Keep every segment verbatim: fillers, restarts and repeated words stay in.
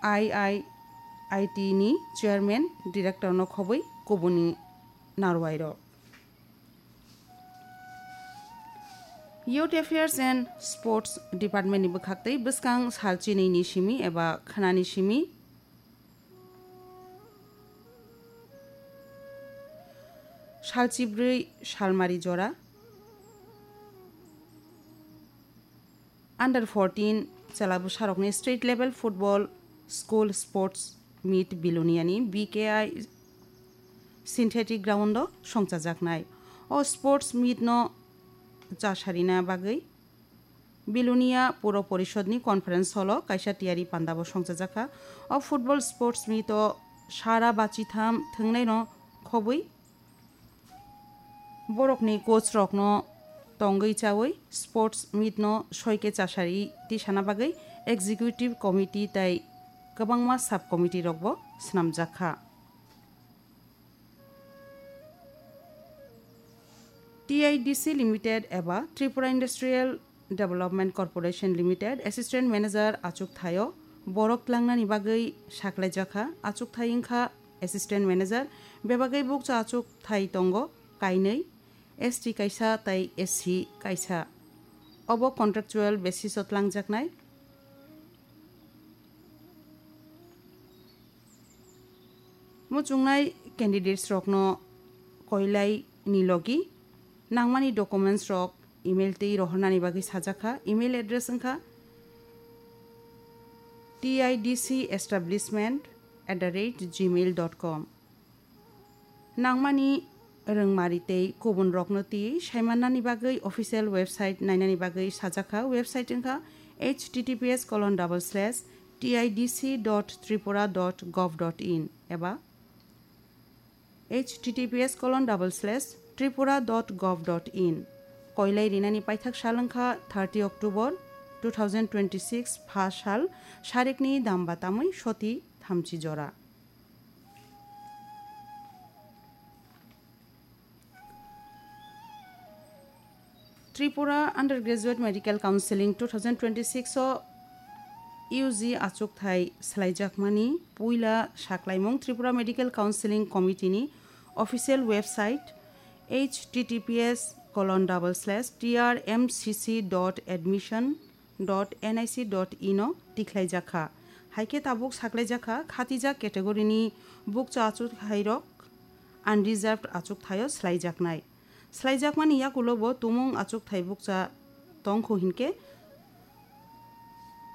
I I I T ni chairman, director no khobwi kubuni narwai rok. Youth Affairs and Sports Department ni bwkhaktwi bwskang sal chinwi ni simi eba khwnani simi sal chibrwi salmari jora under fourteen chwla bwsarokni state level football school sports meet Biloniani B K I synthetic ground o songchajaknai. O sports meet no chasarina bagwi Bilonia Puro Porishodni conference hall o kaisa tiyari panda bo songchajakha. O football sports meet o sara bachitham thwngnaino khobwi borokni coach rokno tongwi chawi sports meet no soike chasari tisana bagwi executive committee tai kwbangma sub committee rokbo swnamjakha. T I D C Limited eba Tripura Industrial Development Corporation Limited Assistant Manager achukthaio borok tlangnani bagwi saklaijakha. Achukthai wngkha Assistant Manager, bebagwi bukcha achukthai tongo kainwi, S T kaisa tai S C kaisa. Obo contractual basis o tlangjaknai. Muchungnai candidates rokno koilai ni logi nangmani documents rok email tei rohornani bagwi sajakha. Email address wngkha T I D C establishment at the rate gmail dot com. Nangmani rwngmari tei kubun rokno twi saimannani bagwi official website nainani bagwi sajakha. Website wngkha H T T P S colon double slash T I D C dot tripura dot gov dot in eba H T T P S colon double slash tripura dot gov dot in. Koilai rinani paithak sal wngkha thirty October two thousand twenty-six, pha sal, sarikni damba tamwi soti thamchi jora. Tripura Undergraduate Medical Counseling two thousand twenty-six o U G achukthai swlaijakmani puila saklaimung Tripura Medical Counseling Committee ni official website H T T P S colon double slash T R M C C dot admission dot N I C dot in o tikhlaijakha. Haikhe tabuk saklaijakha khatijak category ni bukcha achukthai rok unreserved achukthaio swlaijaknai. Swlaijakmani yakulo bo tumung achukthai bukcha tongkhu hinkhe,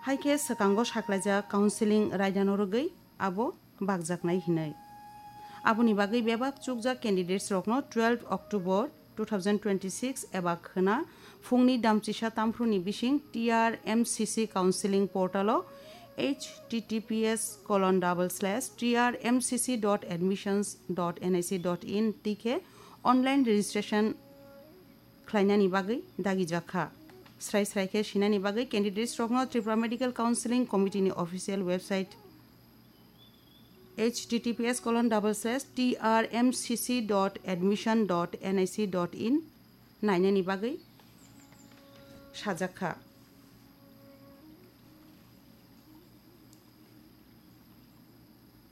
haikhe swkango saklaijak counseling raidano rwgwi abo bakjaknai hinwi. Aboni bagwi bebak chukjak candidates rokno twelve October two thousand twenty-six eba khwna phungni damchisa tamphru ni bising T R M C C counseling portal o H T T P S colon double slash T R M C C dot admissions dot N I C dot in twi khe online registration khlainani bagwi dagijakha. Srai srai khe sinani bagwi candidates rokno Tripura Medical Counseling Committee ni official website H T T P S colon double slash T R M C C dot admission dot N I C dot in nainani bagwi sajakha.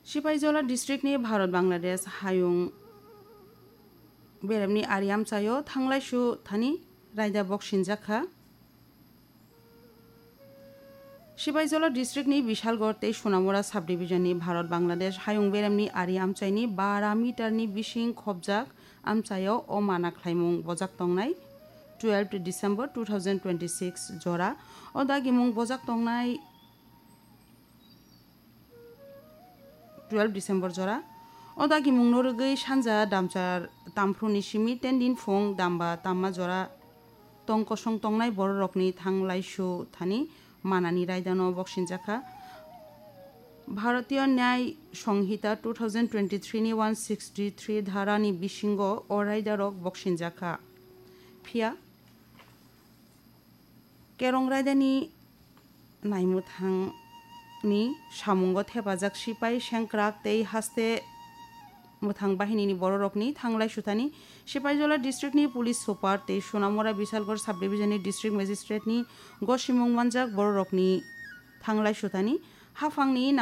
Sipaijola district ni Bharat Bangladesh hayung beremni ari amchaio thanglaisu thani raida boksinjakha. Sipaijola district ni Bishalgarh tei Sonamura subdivision ni Bharat Bangladesh hayung beremni ari amchaini bara meter ni bising khobjak amchaio o mana khlaimung bojak tongnai twelve December two thousand twenty-six jora. O dagimung bojak tongnai twelve December jora. O dagimungno rwgwi sanja damchar tamphru ni simi ten din phung damba tamma jora tong kosong tongnai bororokni thanglaisu thani manani raidano boksinjakha. Bharatiya Nyay Sanhita two thousand twenty-three ni one sixty-three dhara ni bisingo o raidarok boksinjakha. Phiya Kerong raidani naimwthangni samungo thepajak sipai sengkrak tei haste mwthang bahinini bororokni thanglai sutani, Sipaijola districtni police super tei Sonamura Bisalgarh subdivisionni district magistrate'ni gosimung manjak bororokni thanglai sutani, haphangni